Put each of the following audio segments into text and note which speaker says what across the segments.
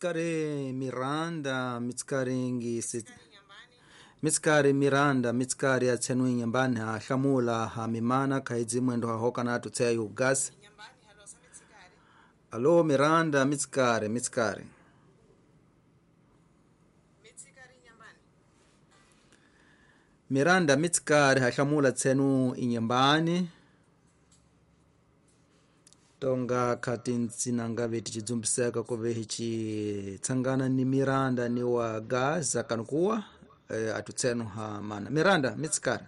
Speaker 1: Mitsikari Miranda, mitsikari ngisi mitsikari Miranda, mitsikari ya tsenu inyambani ha hlamula ha mimana khaidzi mwendo ha hoka na tutseya yugasi. Alo Miranda, mitsikari, mitsikari. Miranda mitsikari ha hlamula tsenu inyambani. Tonga khati ntsinanga veti cidzumbiseka kuve hici tsangana ni Miranda ni wa Gaza kanukuwa atutsenu ha mana. Miranda mitsikari.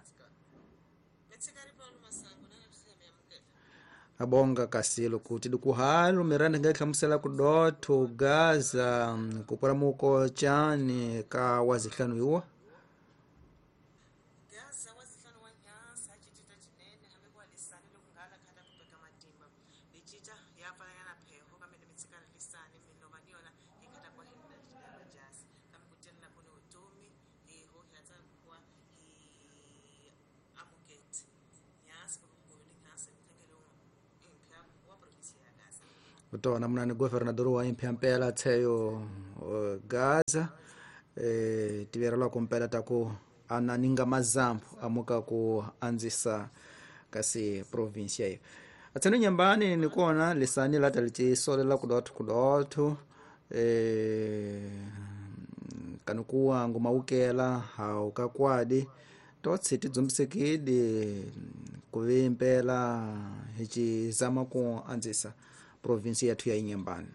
Speaker 1: Abonga kasilo kuti dikuhalo Miranda ngahlamusela kudotho Gaza kupora muko chani ka wazihlanu iwa. Kutona munani governador wa impya tsheyo Gaza tiverelwa kumpela taku ananinga mazambu amuka ku anzisa kasi provincia iyo atseno nyambani nikuona lisani lata lichisolela kudotho kudotho kanukuwa ngumaukela haukakwadi totsi tidzumbisekidi kuve impela hichizama ku anzisa provinsi yathu ya Inhambane.